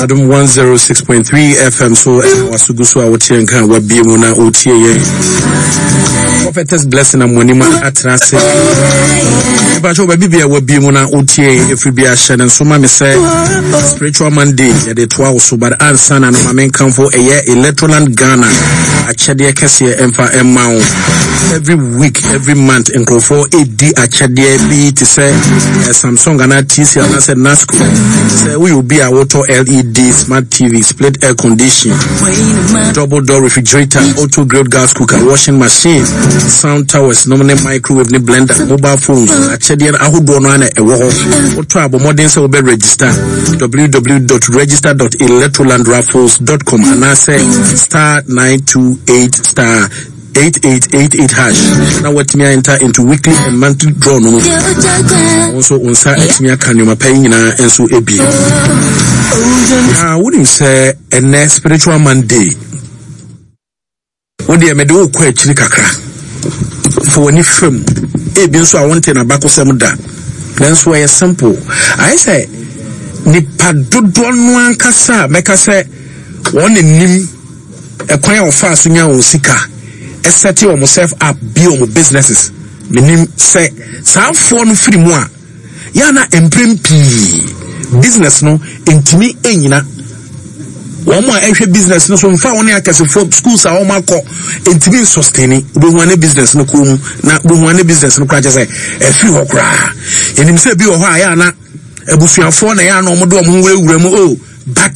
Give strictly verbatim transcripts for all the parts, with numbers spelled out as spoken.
Adom one oh six point three F M so ɛna wasogu so a woteɛ nka a wabie mu na wotie yɛn. Prophetess Blessing Amoanim atena ase. Mepakyɛ, baabi bia wabie mu na wotie yɛn ɛfiri bi ahyɛ ne nso ma me sɛ Spiritual Monday yɛde toa wo so, but ansa na no, ma menkamfo ɛyɛ Electroland Ghana akyɛdeɛ kɛseɛ ɛmfa ɛma wo. Every week, every month, nkurɔfoɔ ɛdi akyɛdeɛ bi te sɛ eh, Samsung anaa T C anaasɛ Nasco. Sɛ woyɛ obi a wotɔ L E D smart T V, split air condition, double door refrigerator, auto grilled gas cooker, washing machine, sound towers nom ne microwave ne blender, mobile phones, akyɛdeɛ no ahodoɔ no ana ɛwɔ hɔ. Wotɔ a, bɔ mmɔden sɛ wobɛ register w w w dot register dot electrolandraffles dot com anaasɛ star nine two eight star eight eight eight eight hash na watumi enter into weekly and monthly draw no mu. Wo nso wo nsa atumi aka nneɛma pa yi nyinaa nso ebie. Na wonim sɛ ɛnɛ Spiritual Monday, wodeɛ mede wokɔ akyiri kakra fa w'ani fam. Ebi nso a wonte n'abakɔsɛm da, nanso ɛyɛ simple. Ayɛ sɛ nipa dodoɔ no ankasa a mɛka sɛ wɔn anim ɛkwan a wɔfaa so nya wɔn sika, ɛset wɔn self up bi, wɔn businesses. Menim sɛ saa afoɔ no firi mu a, yɛana mprɛm pii business no ntumi nyina. Wɔn a ɛhwɛ business no so nfa wɔn ne akɛsefoɔ schools a wɔn akɔ ntumi nsustain. Wobɛhu ane business no kɔn mu na wobɛhu ane business no koraa kyɛ sɛ ɛfiri hɔ koraa. Yɛnim sɛ bi wɔ hɔ a yɛ ana abusuafoɔ na yɛ ana wɔn de wɔn ho wurawura mu o, but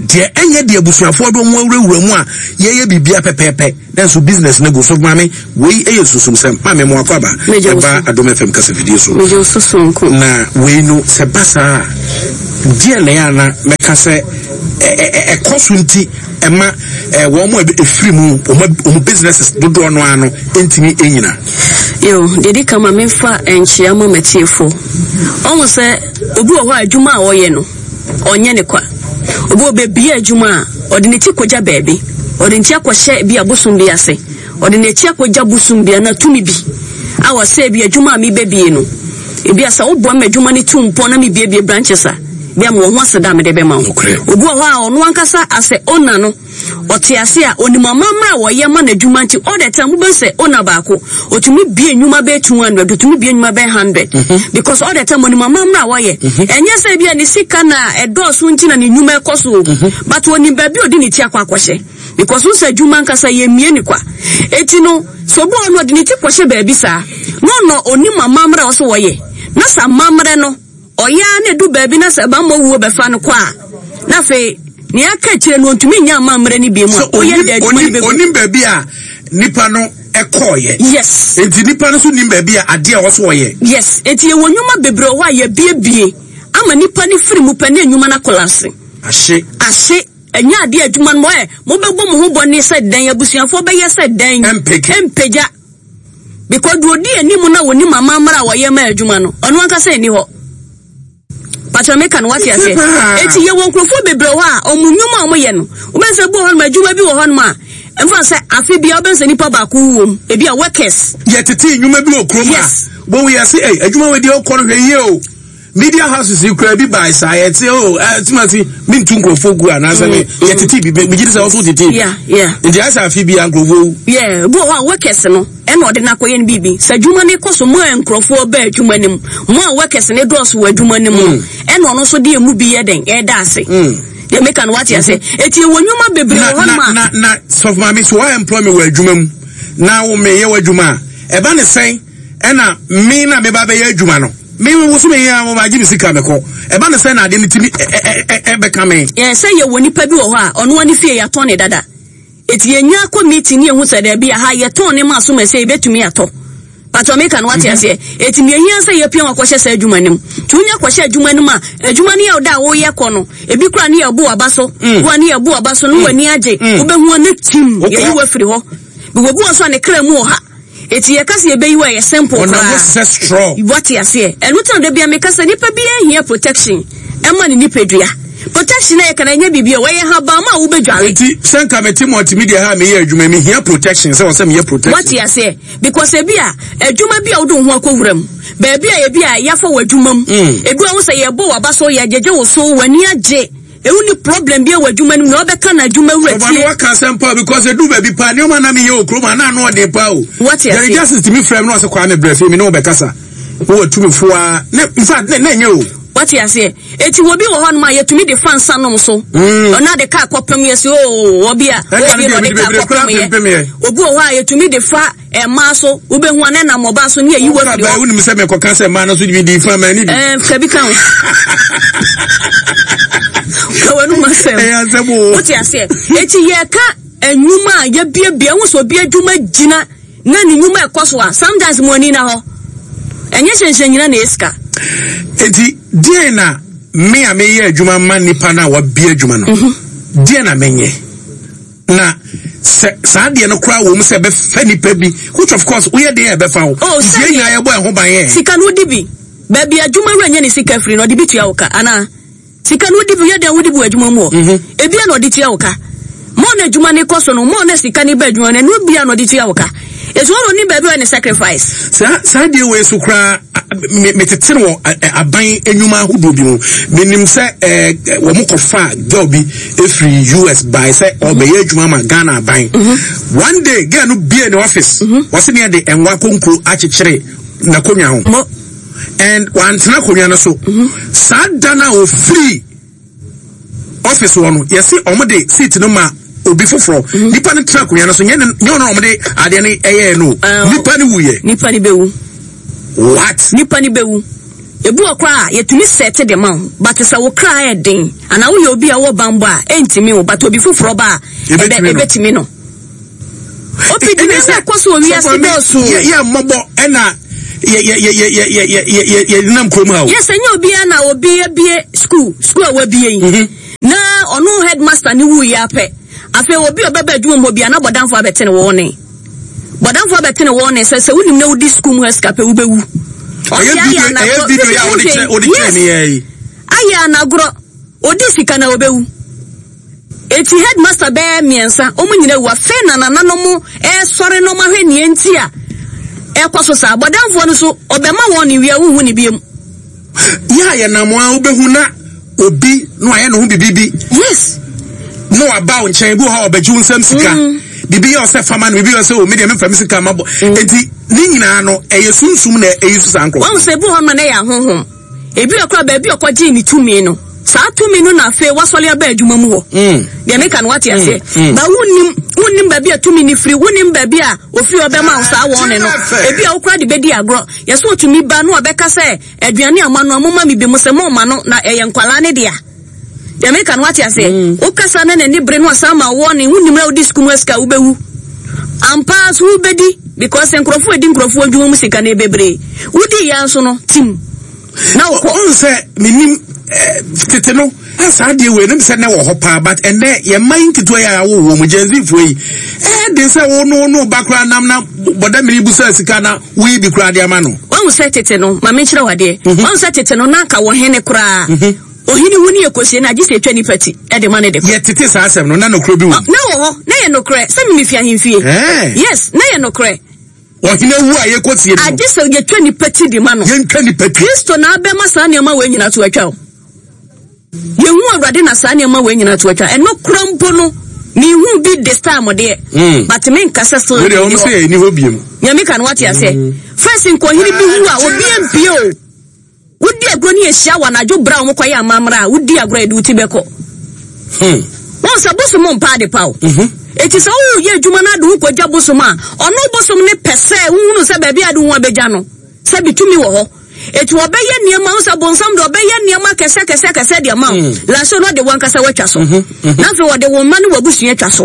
deɛ ɛnyɛ deɛ abusuafoɔ de wɔn awurawura mu a yɛyɛ biribia pɛpɛɛpɛ, nanso business no gu so. Maame, wei yɛ susumsɛm. Maame, mo akɔ aba ɛba Adom F M kasafidie so. Megye wo so sonko. Na wei no, sɛ ba saa a, deɛ na yɛ ana mɛka sɛ ɛkɔ so nti ɛma wɔn mo ɛfiri mu, wɔn businesses dodoɔ no ano ntumi nyina? Yo, deɛ di kama, memfa nkyea ma matiefo. Ɔhu sɛ obi wɔ hɔ a, adwuma a ɔyɛ no, ɔnyɛ ne kwa. Obi wɔ baabi adwuma a ɔde ne ti kɔgya baabi, ɔde ne ti akɔhyɛ bi abosom bi ase, ɔde n'akyi akɔgya bosom bi ana tumi bi a wɔsɛ bi adwuma a mebɛbie no, ebi a sɛ woboa ma adwuma no tu mpɔn na mebiebie branches a bi a mewɔ ho aseda a mede bɛma wo. Obi wɔ hɔ a, ɔno ankasa asɛ owner no, ɔte ase a onim amammerɛ a wɔyɛ ma n'adwuma, nti all the time wobɛhu sɛ owner baako otumi bie nnwuma bɛyɛ two hundred, otumi bie nnwuma bɛyɛ hundred, because all the time onim amammerɛ a wɔyɛ. Ɛnyɛ sɛ bi a ne sika na ɛdɔɔso nti na ne nnwuma ɛkɔ so o, but onim baabi a ɔde ne ti akɔ akɔhyɛ, because n sɛ adwuma nkasa yɛ mmie ne kwa. Eti no, sɛ obi wɔ hɔ no, ɔde ne ti kɔhyɛ baabi saa na ɔnɔ onim amammerɛ a ɔsɛ wɔyɛ, na sɛ amammerɛ no ɔyɛ a, na edu baabi na sɛ bambɔ wuo bɛfa no kɔ a, na afei nea aka akyire no, ɔntumi nya amammerɛ no bi mu a ɔyɛ de adwuma no bɛgu. Onim baabi a nipa no ɛkɔɔyɛ. Yes. Nti nipa no so nim baabi a adeɛ a ɔso ɔyɛ. Yes, eti yɛwɔ nnwuma bebree wɔ hɔ a yɛbiebie ama nipa no firi mu pɛ ne nnwuma no acollapse. Ahye. Ahye. Ɛnyɛ adeɛ adwuma no mo ɛ mobɛbɔ mo ho bɔne sɛ dɛn, abusuafoɔ bɛyɛ sɛ dɛn. Ɛmpeke. Ɛmpagya, because deɛ odi anim na wɔnim amammerɛ a wɔyɛ ma adwuma no, ɔno ankasa nni hɔ. Patro, meka no wate aseɛ? Eti yɛwɔ nkurɔfoɔ bebree hɔ a ɔmo nnwuma a ɔmo yɛ no, wobɛn sɛ bi wɔ hɔnom, adwuma bi wɔ hɔnom a mfa sɛ afe bia wobɛn sɛ nipa baako wɔ mu, ebi a workers. Yɛtete nnwuma bi wɔ kurom a Yes. wɔn yɛ se ɛy adwuma wɔ deɛ ɔkɔ no, hwɛ yie o. Media houses yi kura bi baa saa, yɛte o, ɛ timati mi ntu nkurɔfoɔ gu anaasɛ mi yɛtete bi, mi gyi di sɛ ɔso tete bi. yeah yeah Nti ayɛ sɛ afe bi a nkurɔfoɔ wu. Yeah, bi wɔ hɔ a workers no ɛna ɔde n'akɔyɛ no biribi sɛ adwuma no kɔ so, mo a nkurɔfoɔ bɛ adwuma no mu, mo a workers no dɔɔso wɔ adwuma no mu no, ɛna ɔno nso de emu bi yɛ den ɛda ase. Deɛ meka no, wate ase? Eti ɛwɔ nnwuma bebree na wɔ hɔnom na a na na sɔfo maame, so wa employ me wɔ adwuma mu na wo me yɛ wɔ adwuma a, ɛba ne sɛn ɛna me na me ba bɛyɛ adwuma no, me wo so me yɛ a mo ba gye me sika me kɔ, ɛba ne sɛn na ade ne ti mi ɛ ɛ ɛ ɛbɛka me? Yɛ sɛ yɛwɔ nipa bi wɔ hɔ a ɔno ani fie yɛatɔn ne dada, eti yɛnya akɔ meeting ne yɛhu sɛ daabi, aha yɛtɔn ne ma so ma sɛ yɛbɛtumi atɔ. Patro, meka no wate aseɛ? Eti nea ehia sɛ yɛpia wɔn akɔhyɛ saa adwuma no mu, nti wonya kɔhyɛ adwuma no mu a, adwuma no yɛ ɔda a woyɛ kɔ no, ebi kora ne yɛbo aba so wa ne yɛbo aba so no, w'ani agye, wobɛhu ne tim. Wokɔ. Yɛyi wo afiri hɔ bi wɔ so a ne kra mu wɔ ha, eti yɛka sɛ yɛbɛyi wo a, ɛyɛ simple ɔnam koraa. hɔ sɛ straw. Wate aseɛ? Ɛno tena da bia meka sɛ nipa biara hia protection ɛma ne nipadua. Protection a yɛka no, ɛnyɛ biribi a wɔyɛ habama a wobɛdware. Nti sɛ nka mete multimedia ha a meyɛ adwuma, mehia protection sɛ wɔ sɛ meyɛ protection. Wate aseɛ? Because ebi a adwuma bi a wode wo ho akɔwura mu baabi a ebi a yɛafa wɔ adwuma mu, Mm. ebi a wo sɛ yɛbɔ w'aba so, yɛgyegye wo so, w'ani agye, Ewu ni problem bi wɔ adwuma no mu na ɔbɛka na adwuma wura tie. Ɔba no waka asɛm pa because edu baabi pa nneɛma na meyɛ wɔ kurom a na ano ɔden pa o. Wate ase. Jerry Justice tumi frɛ me na ɔsɛ Kwame brɛ fie me ne wo bɛkasa. Wowɔ tumi fo a ne in fact ne na ɛnyɛ o. Wate aseɛ. Eti obi wɔ hɔnom a yɛtumi de fa nsa nom so. Mm. Ɔna de kaa kɔpem yɛ sɛ oo obi a Ɛka no obi na deɛ ɔde mede kaa bebree koraa kɔpem yɛ. pempem yɛ. Obi wɔ hɔ a yɛtumi de fa mmaa so wobɛhu a na nam ɔbaa so ne yɛyi wɔ afiri hɔ. Wonim sɛ mekɔka sɛ mmaa no so de di fa ma ni bi. Ɛɛ kabi ka ho. Ka w'anum asɛm. Ɛyɛ asɛm o. Wote aseɛ. Eti yɛka nnwuma a yɛbiebie ho sɛ obi adwuma gyina na ne nnwuma ɛkɔ so a sometimes mo ani na hɔ. Ɛnyɛ hyɛnhyɛn nyina na ɛsika. Eti deɛ na me a meyɛ adwuma ma nipa no a wabie adwuma no deɛ na menyɛ na sɛ saa deɛ no koraa wɔ mu sɛ ɛbɛfa nipa bi, which of course woyɛ deɛ ɛbɛfa wo. Oh, nti yɛn sɛdeɛ- nyinaa yɛbɔ ɛho ban yɛ. Sika no wodi bi. Baabi adwuma wura nyɛ ne sika firi no ɔde bi tua wo ka anaa sika no wodi bi yɛ dɛn wodi bi wɔ adwuma mu hɔ. Ebia na ɔde tua wo ka. Mɔɔ na adwuma no kɔ so no mɔɔ na sika no ba adwuma no ɛno bia na ɔde tua wo ka. Etu ɔno ni baabi a ne sacrifice. Saa saa deɛ wei so koraa me metete no wɔ aban enwuma ahodoɔ bi mu. Menim sɛ ɛɛ wɔn kɔfa girl bi efiri U S by sɛ ɔbɛyɛ adwuma ma Ghana aban. One day girl no bie ne office, wɔsi ne yɛ de ɛnwa konkuro akyekyere n'akonnwa ho Mo and wantena akonnwa no so. Saa da no a ofiri office hɔ no, yɛsi ɔmo de seat no ma obi foforɔ. Nipa no tena akonnwa no so, nyɛ ne nyɛ ɔno na ɔmo de adeɛ no ɛyɛɛ no. Ah, nipa no wuyɛ. Nipa ni bɛwu. What? Nipa ni bɛwu. Ebi wɔ koraa a yɛtumi sɛte de ma wo, but sɛ wo kra yɛ den anaa woyɛ obi a wɔ bambɔ a ɛntumi wo, but obi foforɔ ba a ɛbɛ Ebɛtumi no. Ɛbɛtumi no. Opi di ne sɛ kɔ so wɔ wiase dɔɔso. yɛ yɛ mmɔbɔ ɛna yɛ yɛ yɛ yɛ yɛ yɛ yɛ yɛ yɛ nam kurom ha o. Yes, ɛnyɛ obiara na obi abie school school a wabie yi na ɔno headmaster ne wu yɛ apɛ. Afei obi a ɔbɛba adwuma mu hɔ bia na bɔdanfo abɛte ne wɔn ne bɔdanfo abɛte ne wɔn ne sɛ sɛ wonim na wodi school mu ha sika pɛ wobɛwu. Ɛyɛ Ɔse video ayɛ ɛyɛ anagorɔ. video yɛ a wode kyerɛ wode kyerɛ Yes. ne yɛ yi. Ayɛ anagorɔ odi sika na obɛwu. Eti headmaster bɛyɛ mmiɛnsa wɔn nyinaa wu. Afei na nananom ɛsɔre na wɔn ahwɛ nea nti a ɛkɔ so saa. Bɔdanfoɔ no so ɔbɛma wɔn ne wia wohu ne biem. Yɛ a yɛnam a wobɛhu na obi na wayɛ ne ho bibi bi yes na waba wo nkyɛn bi wɔ hɔ a ɔbɛgye wo nsam sika biribi yɛ ɔsɛ fama no, biribi yɛ ɔsɛ o medeɛ memfa me sika ma bɔ. Enti ne nyinaa no ɛyɛ sunsum na ɛyi so saa nkorɔfoɔ. Wɔn sɛ ebi wɔ hɔ ma na ɛyɛ ahohom, ebi wɔ kora baabi a ɔkɔgyee ne tumi no, saa tumi no na afei wasɔre aba adwuma mu hɔ. Mm. Deɛ meka no wate aseɛ? Mm. Ba wonim wonim baabi a tumi ne firi, wonim baabi a ofiri ɔbɛma wo saa wɔn ne no. Ebi a wokora de bɛdi agorɔ yɛsɛ otumi ba na ɔbɛka sɛ aduane a moano a moma me bi mo sɛ moma no na ɛyɛ nkwalaa ne dea. Deɛ meka no wate aseɛ? Wokasa na n'ani bere no asan ma wɔ ne wonim na wodi sukuu mu asika wobɛwu ampa so wobɛdi because nkurɔfoɔ adi nkurɔfoɔ adwuma mu sika no bebree wodi yɛn nso no tim na wokɔ. Ɔn sɛ menim eh, tete no na saa deɛ wei nom sɛ nɛ wɔ hɔ paa, but ɛnɛ yɛma yi nketewa yi a wowɔ mu Gen Z foɔ yi ɛɛ de sɛ wo no no ba koraa nam na bɔda mene bu sɛ sika na woyi bi koraa de ama no. Wahu sɛ tete no, ma menkyerɛ wo adeɛ. Wahu sɛ tete no na anka wɔ hene koraa ohene wu ne yɛkɔsie no agye sɛ ɛtwa nipa ti ɛde ma ne de kɔ. Yɛtete saa asɛm no na nokorɛ bi wɔ mu. Na wɔ hɔ na yɛ nokorɛ sɛ memefi ahemfie. Eh. Yes, na yɛ nokorɛ. Ɔhene wu a yɛkɔsie no agye sɛ yɛtwa nipa ti de ma no. Yɛntwa nipa ti. Kristo na abɛma saa nneɛma wei nyina to atwa o. Yɛhu Awurade na saa nneɛma wei nyina to atwa. Ɛno kora mpo no mehu bi this time deɛ, Mm. but menka sɛ so wei deɛ wɔm sɛ ɛni hɔ biom. Nyame ka no wate aseɛ? First nkɔhene bi wu a obi mpie o. Wodi agorɔ ne yɛhyia wɔ anadwo berɛ a wɔkɔyɛ amammerɛ a wodi agorɔ a yɛde wo ti bɛkɔ. Hmm. Wɔn sɛ bosom mpa ade pa o. Eti sɛ woyɛ adwuma no ade wo kɔgya bosom a ɔno bosom ne pɛ sɛ wohunu sɛ baabi a ade wo ho abɛgya no sɛ bitumi wɔ hɔ, eti ɔbɛyɛ nneɛma wo sɛ bonsam de ɔbɛyɛ nneɛma kɛsɛ kɛsɛ kɛsɛ de ama wo. Laso no ɔde wɔn ankasa watwa so na afei wɔde wɔn mma ne w'abusua atwa so.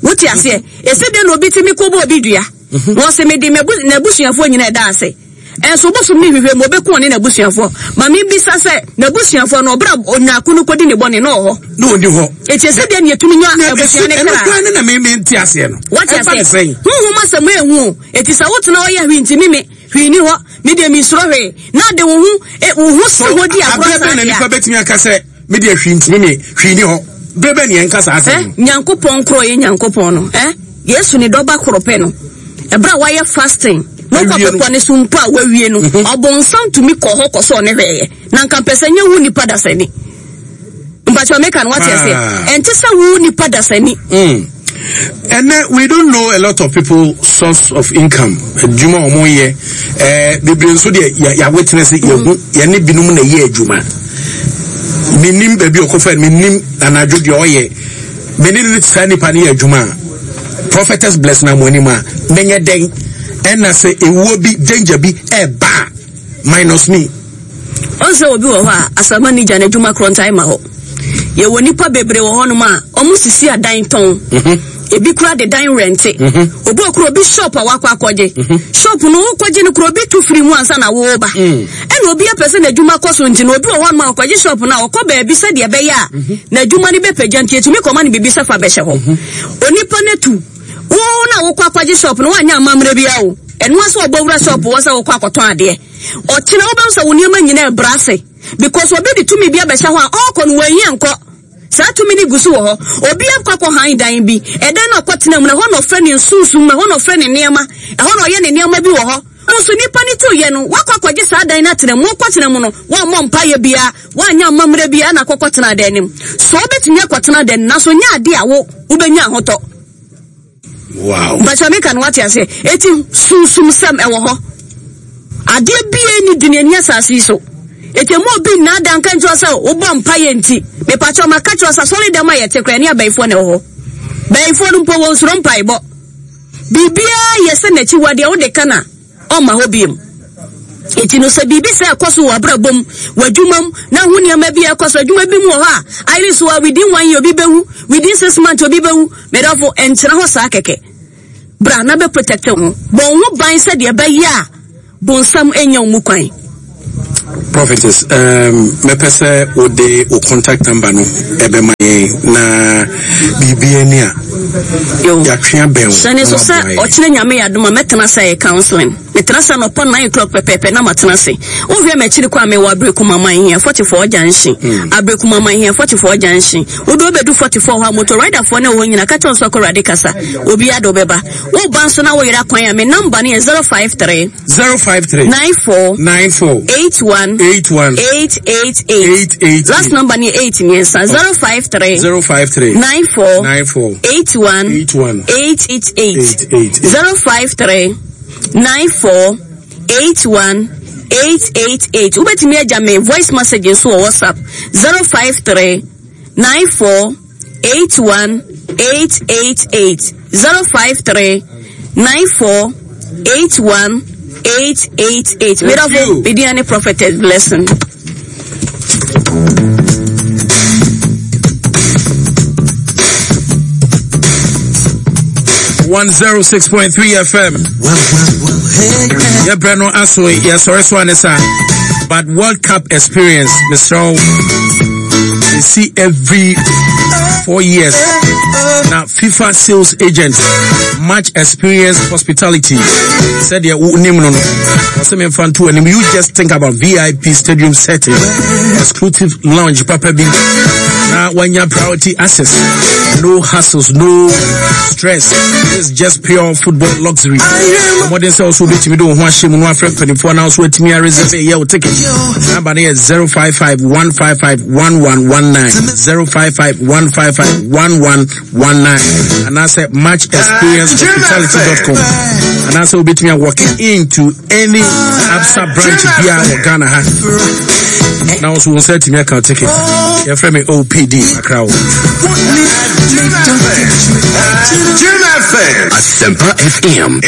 Wote aseɛ? Esi de na obi tumi kɔ bɔ obi dua na ɔsɛ mede m'abu- n'abusuafoɔ nyinaa ɛda ase, ɛnso bosom ne hwehwɛ mu obɛku ɔne n'abusuafoɔ. Maame bisa sɛ n'abusuafoɔ no ɔbra onyaako no kɔdi ne bɔne na ɔwɔ hɔ? Na ɔni hɔ. Eti esi deɛ ne yɛtumi nya abusua ne ɛno kra. koraa ne na me mente aseɛ no. Wate ɛfa ne aseɛ? sɛn? Honhom asɛm ehu o. Eti sɛ wotena hɔ yɛ hwee ntimi me hwee ni hɔ, me deɛ mensuro hwee na de wo ho e, wo ho si hɔ di agorɔ aberɛ saa bɛn na deɛ nipa a bɛtumi aka sɛ mede ahwii ntimi me hwii ni hɔ? Berɛ bɛn ne yɛnka saa asɛm ɛ no? Nyankopɔn korɔ yɛ Nyankopɔn no ɛ Yesu ne dɔba korɔ pɛ no ɛberɛ a wayɛ fasting na ɔkɔ Awie no. bepɔ ne so mpo a wawie no, ɔbɔnsam tumi kɔ hɔ kɔ sɛ ɔne hwɛeɛ na nka mpɛ sɛ nyɛ wo nipa dasani. Mpakyɛ meka no wate aseɛ. Ɛnte sɛ wo nipa dasani. Mm. And then we don't know a lot of people source of income. Adwuma a wɔn yɛ ɛɛ bebree nso deɛ yɛ yɛ witness yɛ hu yɛne binom na ɛyɛ adwuma. Menim baabi ɔkɔfa menim anadwo deɛ ɔyɛ mene ne saa nipa no yɛ adwuma a prophetess bless na mo anim a menyɛ dɛn ɛna sɛ ewuo bi danger bi ɛɛba minus me. Ɔn sɛ obi wɔ hɔ a asama ni gya n'adwuma korɔ ntae ma hɔ. Yɛwɔ nipa bebree wɔ hɔnom a ɔmo sisi adan tɔn. Ebi kura de dan rɛnte. Obi okura obi shop a wakɔ akɔgye. Shop no wokɔgye no kura obi tu firi mu ansa na woba. Ɛna obi apɛ sɛ n'adwuma kɔ so nti no obi wɔ hɔnom a ɔkɔgye shop no a ɔkɔ baabi sɛdeɛ ɛbɛyɛ a n'adwuma no bɛpagya nti etumi kɔma no biribi sɛ fa bɛhyɛ hɔ. Onipa no tu. Wo na wokɔ akɔgye shop no woanyɛ amammerɛ biara o. Ɛno ara sɛ ɔbɔ wura shop wɔ sɛ wokɔ akɔtɔn adeɛ. Ɔkyena wobɛhu sɛ wo nneɛma nyinaa ɛbrɛ ase. Because obi de tumi bi abɛhyɛ hɔ a ɔrekɔ no wɔnhia nkɔ. Saa tumi no gu so wɔ hɔ. Obi akɔ akɔhan dan bi. Ɛdan no ɔkɔtena mu no, ɛhɔ na ɔfrɛ ne nsunsum, ɛhɔ na ɔfrɛ ne nneɛma, ɛhɔ na ɔyɛ ne nneɛma bi wɔ hɔ. Nso nipa no tu yɛ no, wakɔ akɔgye saa dan no atena mu. Wokɔtena mu no, wammɔ mpaeɛ biara, wanyɛ amammerɛ biara na akɔkɔtena dan no mu. So wobɛtumi akɔtena dan no nanso nyɛ ade a wo wobɛnya ahotɔ. Wow. Mpakyɛ meka no wate aseɛ. Eti sunsum sɛm ɛwɔ hɔ. Adeɛ bie ni di n'ani asase yi so. Eti emu obi nnaadaa nka nkyerɛ sɛ wobɔ mpaeɛ nti. Mepakyɛ ma ka kyerɛ sɛ asɔre dɛm a yɛte koraa ne abayifoɔ na ɛwɔ hɔ. Bayifoɔ no mpo wɔn soro mpaebɔ. Biribiara yɛ sɛ n'akyiwadeɛ wode ka na ɔmma hɔ biem. Eti no sɛ biribi sɛ ɛkɔ so wɔ abrabɔ mu, wɔ adwuma mu, na ho nneɛma bi a ɛkɔ so adwuma bi mu wɔ hɔ a, ayere so a within one year obi bɛwu, within six months obi bɛwu. Medɔfo, ɛntena hɔ saa kɛkɛ. Bra na bɛ protect wo ho. Bɔ wo ho ban sɛdeɛ ɛbɛyɛ a bonsam nya wo mu kwan. Prophetess, um, mɛpɛ sɛ wode wo contact number no ɛbɛma yɛn na biribi ani a yɛatwe abɛn wo. Hyɛ ne so sɛ ɔkyerɛ Nyame yɛ adom a mɛtena sɛ yɛ counseling. Metena sɛ anɔpa nine o'clock pɛpɛɛpɛ na matena ase. Wohwɛ m'akyiri kɔ a mewɔ Aberekuma Manhia forty-four junction. Mm. Aberekuma Manhia forty-four junction. Wode wobɛdu forty-four hɔ a motor riderfoɔ ne wɔ hɔ nyina ka kyerɛ wo sɛ kɔ Awurade kasa. Obiara de wobɛba. Woba nso na woyera kwan a me number no yɛ zero five three zero five three nine four nine four eight one eight one eight eight eight eight eight. Last number ni eight mmiɛnsa zero five three zero five three nine four nine four eight one eight one eight eight eight eight eight zero five three nine four eight one eight eight eight. Wobɛtumi agya me voice message nso wɔ WhatsApp zero five three nine four eight one eight eight eight zero five three nine four eight one eight eight eight. Medafo, Bidiani Prophetess Blessing. one zero six point three F M. Yeah, Breno Aso, yeah, sorry, so Anessa. But World Cup experience, Mister O, you see every four years. Now, FIFA sales agent, much experience hospitality. Said yeah, name no no. And you just think about V I P stadium setting, exclusive lounge, Papa B. Now, when you priority access, no hassles, no stress. It's just pure football luxury. Modern sales will be to me do one shame one friend twenty four now so me reserve a year ticket. Number is zero five five one five five one one one nine zero five five one five five one one one nine. And I said match experience hospitality dot com. And I said will be to me walking into any Absa branch here or Ghana. Now also will say to me I can take it. Your friend me O P D Accra. Jim F M. Asempa F M.